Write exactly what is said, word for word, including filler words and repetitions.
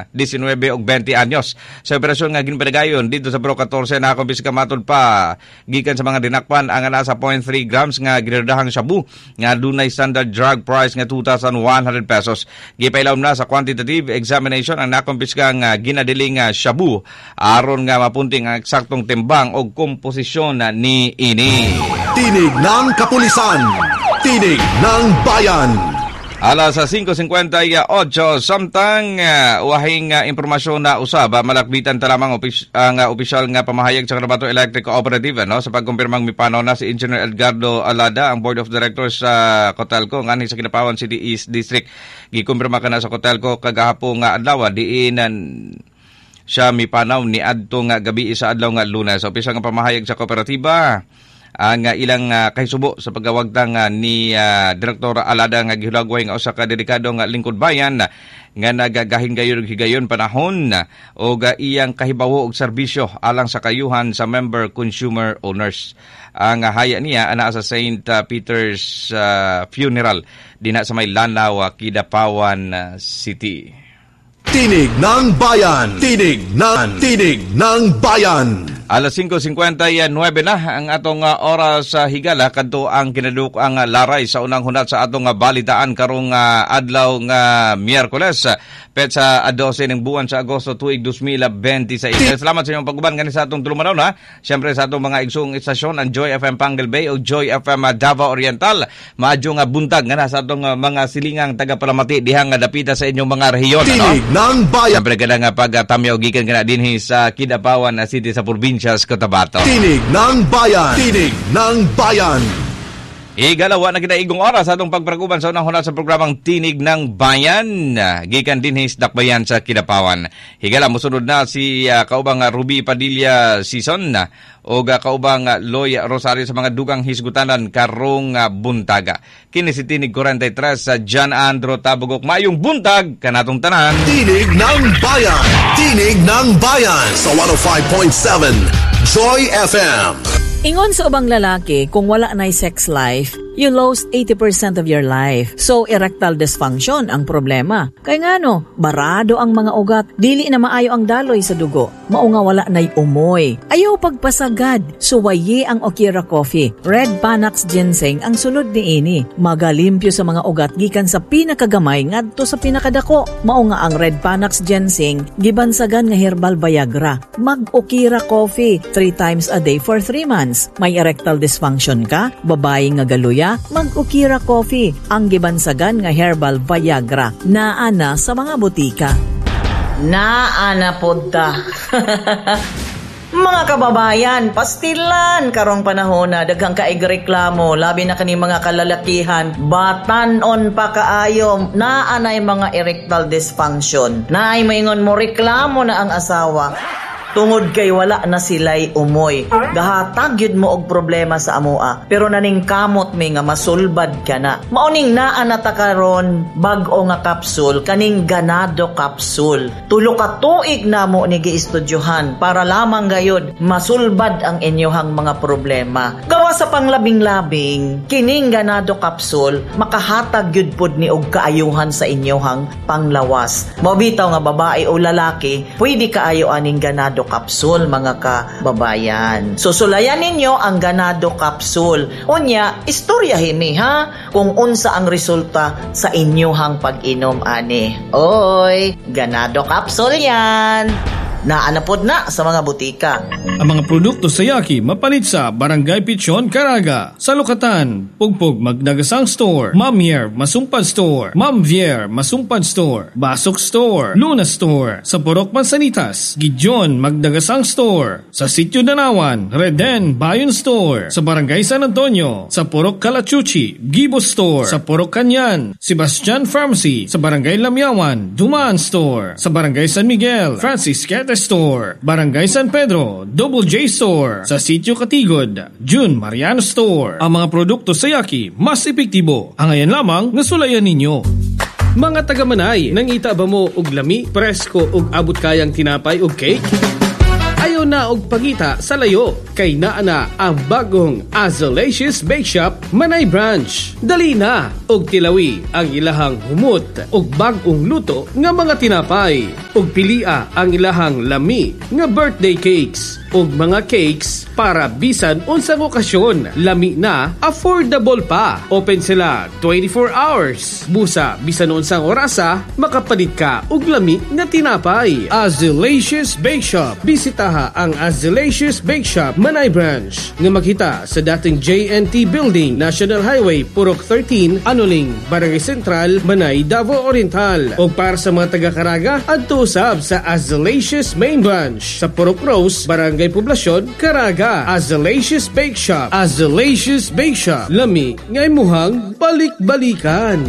labing-desinwebe og beinte anyos. Sa operasyon nga ginpadayon dito sa Purok katose, nakumpiska matud pa gikan sa mga dinakpan ang nasa zero point three grams nga ginadahang shabu nga dunay standard drug price nga two thousand one hundred pesos. Gipailawom na sa quantitative examination ang nakumpiska nga ginadiling nga shabu aron nga mapunting ang eksaktong timbang og komposisyon ni ini. Tinig ng Kapulisan. Tinig ng Bayan. Alas sa singko singkwenta y otso, samtang uh, wahing uh, impormasyon na usab, uh, malakbitan ta lamang opis, ang uh, opisyal nga pamahayag sa Cotabato Electric Cooperative, no, sa pagkumpirmang mipanaw na si Engineer Edgardo Alada, ang Board of Directors sa uh, Cotelco nganhi sa Kidapawan City East District. Gikumpirma kana sa Cotelco kagahapon nga adlaw, diin siya mipanaw ni adto nga gabi sa adlaw nga Lunes. Sa opisyal nga pamahayag sa kooperatiba, ang uh, ilang uh, kahisubo sa pagkawagtang uh, ni uh, Direktor Alada nga gihulagway nga usa ka dedikado nga lingkod bayan uh, nga nagagahin gayon og higayon panahon uh, og uh, iyang kahibawo og serbisyo alang sa kayuhan sa member consumer owners. Ang uh, haya niya ana sa Saint uh, Peter's uh, Funeral dinha sa may Lanao, uh, Kidapawan uh, City. Tinig ng Bayan. Tinig ng Tinig ng Bayan. Alas singko singkwenta y nuwebe na ang atong uh, oras sa higala, kadto ang kinaduk ang uh, laray sa unang hunat sa atong uh, balitaan karong uh, adlaw nga Miyerkules, petsa dose ng buwan sa Agosto tuig dos mil beinte sais. Salamat sa inyong pag-uban gani sa atong tulumanon ha. Siyempre sa atong mga igsoong istasyon, ang Joy F M Panguil Bay o Joy F M Davao Oriental. Maadyo nga buntag nga na sa atong uh, mga silingang taga-palamati diha nga dapita sa inyong mga rehiyon. Tinig ano? ng Bayan. Siyempre kada nga pagtamyaw gikan kana dinhi sa Kidapawan na City sa probinsya sa Cotabato. Tinig ng Bayan. Tinig ng Bayan. Igalawa na kita igong oras atong pagpraguban sa unang hunat sa programang Tinig ng Bayan. Gikan dinhi sa Dakbayan sa Kidapawan. Higala, musunod na si uh, kaubang Ruby Padilla Season o uh, kaubang Loy Rosario sa mga dugang hisgutanan karong uh, buntaga. Kini si Tinig kuwarenta y tres sa John Andro Tabugok. Mayong buntag kanatong tanan. Tinig ng Bayan. Tinig ng Bayan sa one oh five point seven Joy F M. Ingon sa ubang lalaki, kung wala na'y sex life, you lost eighty percent of your life. So, erectile dysfunction ang problema. Kay ngano, barado ang mga ugat, dili na maayo ang daloy sa dugo. Mao nga wala na'y umoy. Ayaw pagpasagad, suwayi ang Okira Coffee. Red Panax Ginseng ang sulod niini. Magalimpyo sa mga ugat gikan sa pinakagamay ngadto sa pinakadako. Mao nga ang Red Panax Ginseng gibansagan nga herbal Viagra. Mag-Okira Coffee three times a day for three months. May erectile dysfunction ka, babae nga galuya, mag-Okira Coffee, ang gibansagan nga herbal Viagra. Naa na sa mga botika. Naa na pod ta. Mga kababayan, pastilan karong panahon na daghang kaig reklamo, labi na kani mga kalalakihan, batanon pa kaayo, naa nay mga erectile dysfunction. Naay maingon mo reklamo na ang asawa tungod kay wala na sila'y umoy. Gahatag yun mo og problema sa amoa. Pero naningkamot mi nga masulbad ka na. Mauning naa na ta karon bag-o nga kapsul, kaning Ganado Capsule. Tulo ka tuig namo ni giestudyohan para lamang gayod masulbad ang inyohang mga problema. Gawa sa panglabing-labing, kining Ganado Capsule makahatag gyud pod ni og kaayuhan sa inyohang panglawas. Mao bitaw nga babae o lalaki, pwede kaayo aning Ganado Capsule, mga kababayan. So sulayan ninyo ang Ganado Capsule. Unya, istorya himi ha kung unsa ang resulta sa inyohang pag-inom ani. Oy, Ganado Capsule yan. Naa na pod na sa mga botika. Ang mga produkto sa Yaki mapalit sa Barangay Pichon, Caraga. Sa Lukatan, Pugpog Magdagasang Store, Mamier Masumpad Store, Mamvier Masumpad Store, Basok Store, Luna Store, sa Purok Mansanitas, Gideon Magdagasang Store, sa Sitio Danawan, Reden Bayon Store, sa Barangay San Antonio, sa Purok Kalachuchi, Gibo Store, sa Purok Kanyan, Sebastian Pharmacy, sa Barangay Lamyawan, Dumaan Store, sa Barangay San Miguel, Francis Quete Store, Barangay San Pedro, Double J Store, sa Sitio Katigod, June Mariano Store. Ang mga produkto sa Yaki, mas epektibo. Angayan lamang nga sulayan ninyo. Mga taga-Manay, nangita ba mo og lami, presko ug abot kayang tinapay ug cake? Ayaw na og pangita sa layo kay naa na ang bagong Azalacious Bake Shop Manay Branch. Dali na og tilawi ang ilahang humot og bag-ong luto nga mga tinapay, ug pilia ang ilahang lami nga birthday cakes ug mga cakes para bisan unsang okasyon. Lami na, affordable pa. Open sila twenty-four hours. Busa bisan unsang orasa makapalit ka og lami nga tinapay. Azalacious Bake Shop. Bisitaha ang Azalacious Bake Shop Manay Branch nga makita sa dating J N T Building, National Highway, Purok thirteen, Anoling, Barangay Central, Manay, Davao Oriental. O para sa mga taga Caraga, adto usab sa Azalacious Main Branch sa Purok Rose, Barangay Poblacion, Caraga. Azalacious Bake Shop. Azalacious Bake Shop. Lami nga imuhang balik-balikan.